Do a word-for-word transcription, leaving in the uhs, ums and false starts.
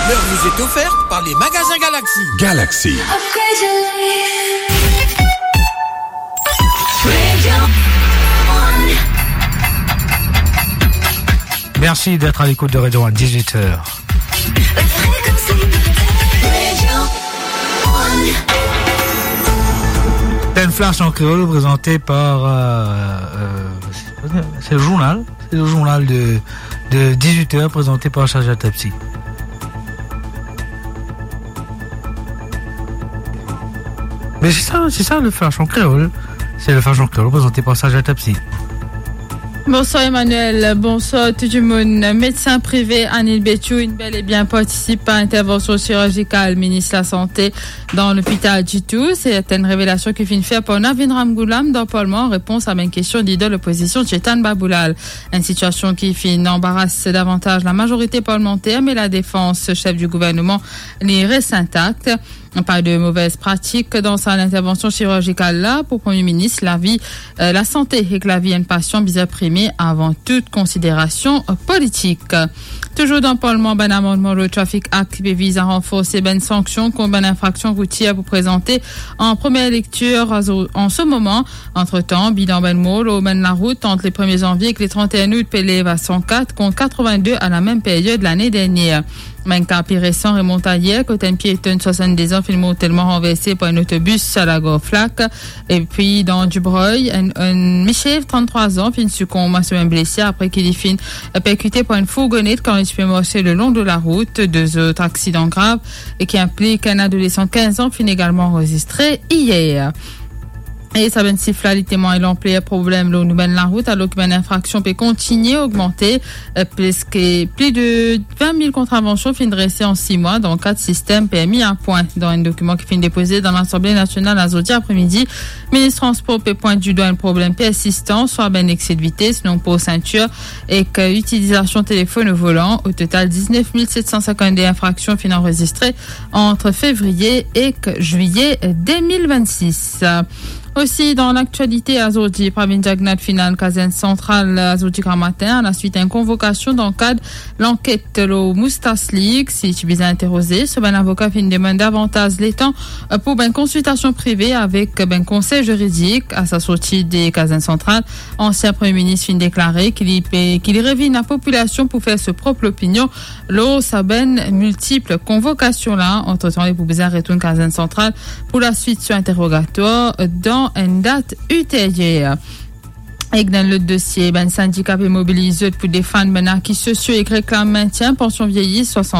L'heure vous est offerte par les magasins Galaxy. Galaxy. Merci d'être à l'écoute de Radio One, dix-huit heures. T'as une flash en créole présentée par, euh, euh, c'est le journal, c'est le journal de, de dix-huit heures présenté par Saja Tepsi. Mais c'est ça, c'est ça le flash en créole. C'est le flash en créole présenté par Saja Tepsi. Bonswar Emmanuel, bonswar tou dimoun. Medsin prive Anil Betiou inn bel e bien partisip a intervansion sirurgikal minis lasante dan lopital Ditou. Se enn revelasion ki finn fer par Navin Ramgoolam dan Parlman an repons a bann kestion lider lopozision Chetan Baboolal. Enn sitiasion ki finn anbaras davantaz lamazorite parlmanter, me ladefans sef di gouvernman li res intak. Pa de movez pratik dan sa intervansion sirurgikal la. Pou Premie Minis, lavi, eh, lasante ek lavi enn pasian bizin prime avan tou konsiderasion politik. Touzour dan Parlman, bann amannman lor Traffic Act ki pe viz a ranforse bann sanksion kont bann infraksion routier pou prezante an premie lektir an se moman. Antretan, bilan bann mor lor bann larout ant le premie zanvie ek le trant-e-enn out pe lev a san kat kont katrevin-de a lamem period lane dernier. Bann ka pli resan remont ayer, kot enn pietonn swasannde-z-an finn mortelman ranverse par enn otobis a Lagor Flak. Epi dan Dibreuil, enn, enn misie trant-trwa-z-an finn sikonb a so mem blese apre ki li finn perkite par enn fourgonet kan li ti pe marse le lon de larout. De zot aksidan grav e ki inplik enn adolesan kinz-an finn egalman anrezistre ayer. E sa bann sif la, li temwagn lanpler problem lor nou bann larout, alor ki bann infraksion pe kontigne ogmante. Eh, preske pli de vin mil kontravansion finn drese an sis mwa dan kat sistem permi a pwin. Dan enn dokiman ki finn depoze dan Lasanble Nasional azordi apremidi, minis transpor pe pwint didwa enn problem persistan, swa bann exse de vites, non-port ceinture ek itilizasion telefonn o volan. O total, diznef mil set san sinkant-de infraksion finn anrezistre ant fevriye ek zwiye de mil vennsis. Osi, dan laktialite, azordi, Pravind Jugnauth finn al kazern santral azordi gramatin, alaswit enn konvokasion dan kad lanket lor Moustas Leaks. Li ti bizin interoze, so bann avoka finn demann davantaz letan pou bann konsiltasion prive avek bann konsey ziridik. A sa sorti de kazern santral, ansien Premie Minis finn deklare ki li pe, ki li revinn lapopilasion pou fer so prop lopinion lor sa bann miltip konvokasion la. Antretan, li pou bizin retourn kazern santral pou laswit so interogatwar dan enn dat ilteryer. Ek dan lot dosie, bann sindika pe mobiliz zot pou defann bann aki sosio ek reklam mentien pansion vieyi swasant